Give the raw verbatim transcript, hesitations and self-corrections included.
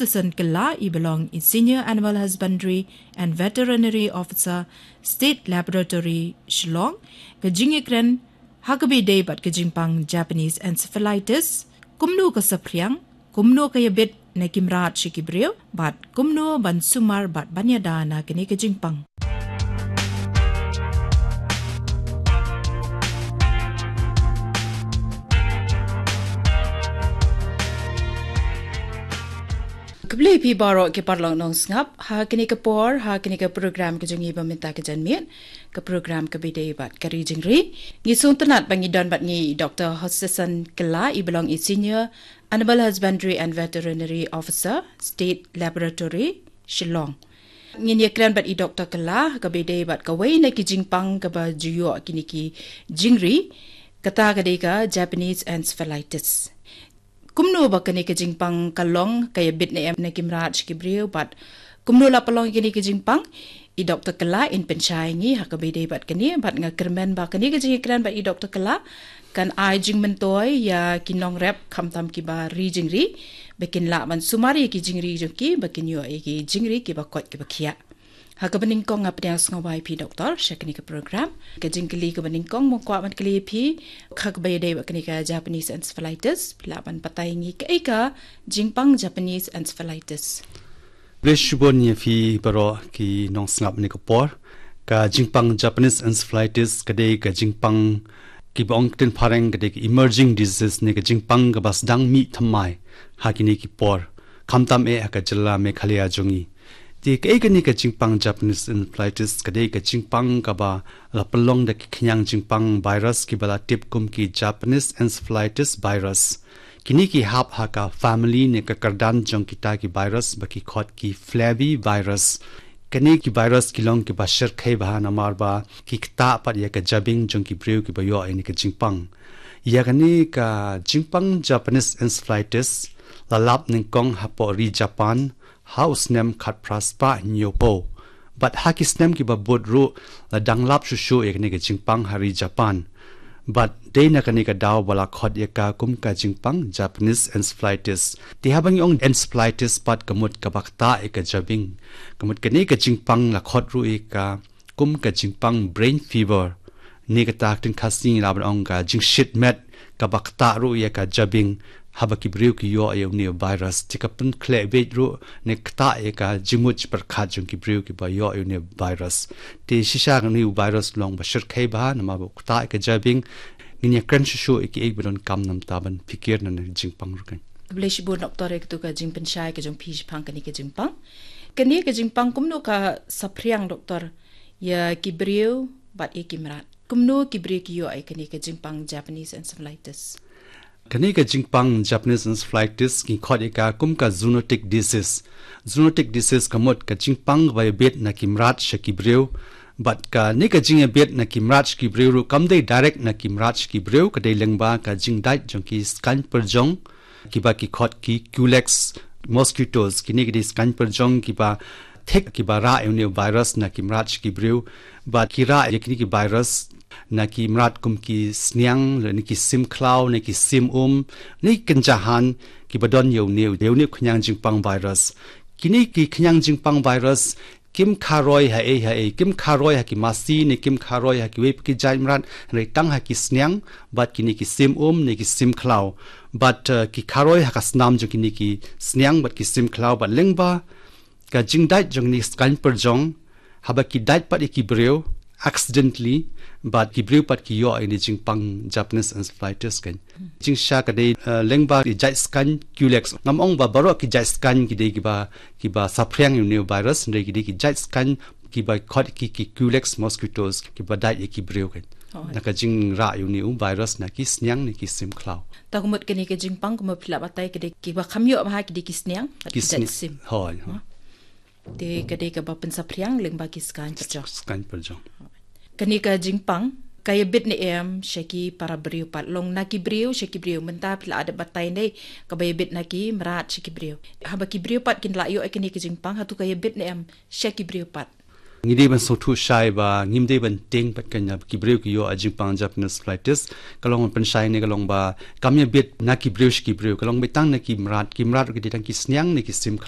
Hutchinson Kylla, i ba long i Senior Animal Husbandry and Veterinary Officer, State Laboratory, Shillong, ka jingïakren ha kaba ïadei bad ka jingpang Japanese encephalitis, kumno ka saphriang, kumno ka ïabit na ki mrad sha ki briew, bad kumno ban sumar bad ban ïada na kane ka jingpang. Khublei phi baroh ki paralok nongsngap, ha kane ka por, ha kane ka program ka jong ngi ba mynta ka janmiet, ka program kaba ïadei bad ka ri jingri. Ngi sngewtynnad ba ngi don bad ngi i Doktor Hutchinson Kylla, i ba long i Senior Animal Husbandry and Veterinary Officer, State Laboratory, Shillong. Ngin ïakren bad i Doktor Kylla kaba ïadei bad kawei na ki jingpang kaba ju ïoh kine ki jingri, kata ka dei ka Japanese encephalitis. Kumno ba kane ka jingpang ka long, ka ïabit ne em na ki mrad sha ki briew, bad kumno la pynlong ïa kane ka jingpang? I Doktor Kylla in pynshai ïa ngi ha kaba ïadei bad kane, bad nga kyrmen ba kane ka jingïakren bad i Doktor Kylla kan ai jingmyntoi ïa ki nongrep, khamtam kiba ri jingri, ba kin lah ban sumar ïa ki jingri jong ki, ba kin ïoh ïa ki jingri kiba koit kiba khiah. Ha kaba nyngkong nga pdiang sngewbha ïa phi Doktor sha kane ka program. Ka jingkylli kaba nyngkong, nga kwah ban kylli ïa phi ha kaba ïadei bad kane ka Japanese encephalitis, phi lah ban batai ïa ngi kaei ka jingpang Japanese encephalitis? Khublei shibun ïa phi baroh ki nongsngap ha kane ka por. Ka jingpang Japanese encephalitis ka dei ka jingpang, kiba ong ktien phareng ka dei ka emerging disease, ne ka jingpang kaba sdang mih thymmai ha kine ki por, khamtam eh ha ka jylla Meghalaya jong ngi. Te kaei kane ka jingpang Japanese encephalitis? Ka dei ka jingpang kaba la pynlong da ki khñiang jingpang virus kiba la tip kum ki Japanese encephalitis virus. Kine ki hap ha ka family ne ka kyrdan jong kita ki virus ba ki khot ki flavivirus. Kine ki virus ki long kiba shyrkhei bha namar ba ki ktah pat ïa ka jabieng jong ki briew kiba ïoh ïa kane ka jingpang. Ïa kane ka jingpang Japanese encephalitis la lap nyngkong hapoh ri Japan ha u snem khatphra spah hynñiewphew. Bad ha ki snem kiba bud ruh la dang lap shuh shuh ïa kane ka jingpang ha ri Japan. Bad dei na kane ka daw ba la khot ïa ka kum ka jingpang Japanese encephalitis. Te haba ngi ong encephalitis pat ka mut kaba ktah ïa ka jabieng. Ka mut kane ka jingpang la khot ruh ïa ka kum ka jingpang brain fever. Ne kata ha ktien Khasi ngi lah ban ong ka jingshit met kaba ktah ruh ïa ka jabieng haba ki briew ki ïoh ïa une u virus. Te ka pynkhleh beit ruh ne ktah ïa ka jingmut jingpyrkhat jong ki briew kiba ïoh ïa une u virus. Te shisha kane u virus long ba shyrkhei bha namar ba u ktah ïa ka jabieng. Ngin ïakren shuh shuh ïa kiei ba donkam namar ban pyrkhat na kane ka jingpang ruh kan. Khublei shibun Doktor ïa katu ka jingpynshai ka jong phi shaphang kane ka jingpang. Kane ka jingpang kumno ka saphriang Doktor, ïa ki briew bad ïa ki mrad? Kumno ki briew ki ïoh ïa kane ka jingpang Japanese encephalitis? Kane ka jingpang Japanese encephalitis ki khot ïa ka kum ka zoonotic disease. Zoonotic disease ka mut ka jingpang ba ïabit na ki mrad sha ki briew. Bad kane ka jingïabit na ki mrad sha ki briew ruh kam dei direct na ki mrad sha ki briew, ka dei lyngba ka jingdait jong ki skaiñ pyrjong kiba ki khot ki Culex mosquitoes. Kine ki dei skaiñ pyrjong kiba thik kiba rah ïa une u virus na ki mrad sha ki briew. Bad ki rah ïa kine ki virus na ki mrad kum ki sniang, lane ki sim khlaw, ne ki sim um, ne ki kynja han kiba don ïa une, ïa une u khñiang jingpang virus. Kine ki khñiang jingpang virus kim kharoi ha ei ha ei, kim kharoi ha ki masi ne kim kharoi ha kiwei pat ki jait mrad, hynrei tang ha ki sniang bad kine ki sim um ne ki sim khlaw. Bad, eh, ki kharoi ha ka snam jong kine ki sniang bad ki sim khlaw, bad lyngba ka jingdait jong kine ki skaiñ pyrjong, haba ki dait pat ïa ki briew accidentally, bad ki briew pat ki ïoh ïa kane ka jingpang Japanese encephalitis kan. Jingshisha ka dei, eh, lyngba ki jait skaiñ Culex. Ngam ong ba baroh ki jait skaiñ ki dei kiba, kiba saphriang ïa une u virus, hynrei ki dei ki jait skaiñ kiba khot ki, ki Culex mosquitoes, kiba dait ïa ki briew kan. Oh. Na ka jingrah ïa une u virus na ki sniang ne ki sim khlaw. Ta ka mut kane ka jingpang kumba phi la batai ka dei kiba kham ïoh bha ki dei ki sniang, ki jait sniang. Sim. Hooid, hooid. Te ka dei kaba pynsaphriang lyngba ki skaiñ pyrjong. Skaiñ pyrjong. Kane ka jingpang ka ïabit ne em sha ki para briew pat, long na ki briew sha ki briew? Mynta phi la dep batai ne kaba ïabit na ki mrad sha ki briew. Haba ki briew pat kin lah ïoh ïa kane ka jingpang, hato ka ïabit ne em sha ki briew pat? Ngi dei ban sngewthuh shai ba ngim dei ban tieng pat kan ïa ki briew ki ïoh ïa ka jingpang Japanese encephalitis. Ka long ban pynshai ne ka long ba kam ïabit na ki briew sha ki briew, ka long beit tang na ki mrad, ki mrad ruh ki dei tang ki sniang ne ki sim